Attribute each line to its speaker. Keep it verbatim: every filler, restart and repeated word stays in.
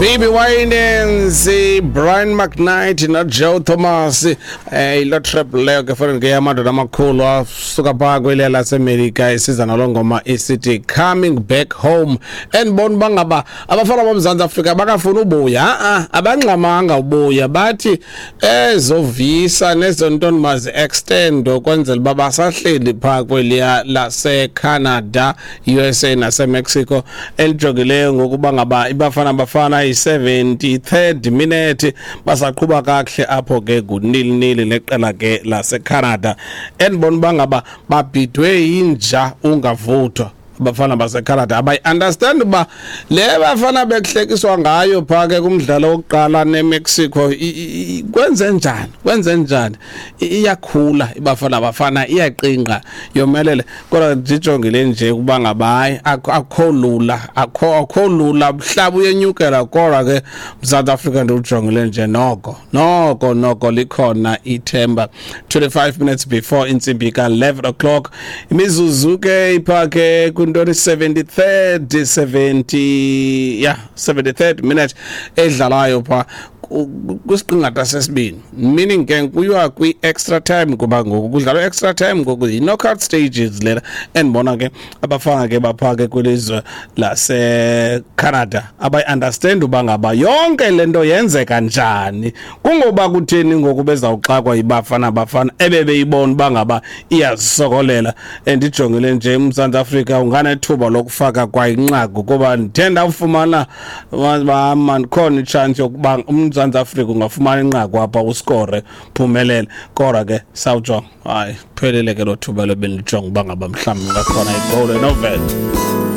Speaker 1: B B Winans, Brian McKnight noJoe Thomas, eh ilo trap leyo ke fanele ke yamadoda amakhulu asuka phaa kweliya laseMelika, isiza naloo ngoma isithi "Coming Back Home". Endibona uba ngaba abafana boMzantsi Afrika bakafuna ubuya, a-a abangxamanga ubuya, bathi ezo visa nezo ntoni mazi-extend ukwenzela uba basahleli phaa kweliya laseCanada, U S A naseMexico. Elijongileyo ngokuba ngaba iBafana Bafana yi-seventy-third minute, basaqhuba kakuhle apho ke, ngu-nil nil neqela ke laseCanada. Endibona uba ngaba babhidwe yinja ungavuthwa abafana baseCanada, abayi-understand uba le bafana bekuhlekiswa ngayo phaa ke kumdlalo wokuqala neMexico. i- i- i- kwenze njani, kwenze njani? I- iyakhula iBafana Bafana, iyaqingqa, yomelele, kodwa ndijongile nje ukuba ngaba hayi, akho akho lula, akho akho lula, mhlaba uyenyukela. Kodwa ke Mzantsi Afrika ndiwujongile nje, noko noko noko likhona ithemba. twenty-five minutes before intsimbi ka-eleven o'clock, imizuzu ke ipha ke kwintoni, seventy-third seventy, yeah, seventy-third minute edlalayo pha ku- kwisiqingatha sesibini, meaning ke kuyiwa kwi-extra time, kuba ngoku kudlalwa extra time, ngoku yi-knockout stages lena. Endibona ke abafana ke bapha ke kwilizwe laseCanada abayi-understand uba ngaba yonke le nto yenzeka njani, kungoba kutheni ngoku bezawuxakwa yiBafana Bafana ebebeyibona uba ngaba iyazisokolela. Endijongile nje, uMzantsi Afrika unganethuba lokufaka kwa inqaku, kuba ndithe ndawufumana man khona itshansi yokuba uMzantsi Afrika ungafumana inqaku apha, uskore, phumelele. Kodwa ke sawujonga, hayi, phelile ke lo thuba lebenijonga uba ngaba mhlawumbi ungakhona igowuli enovela.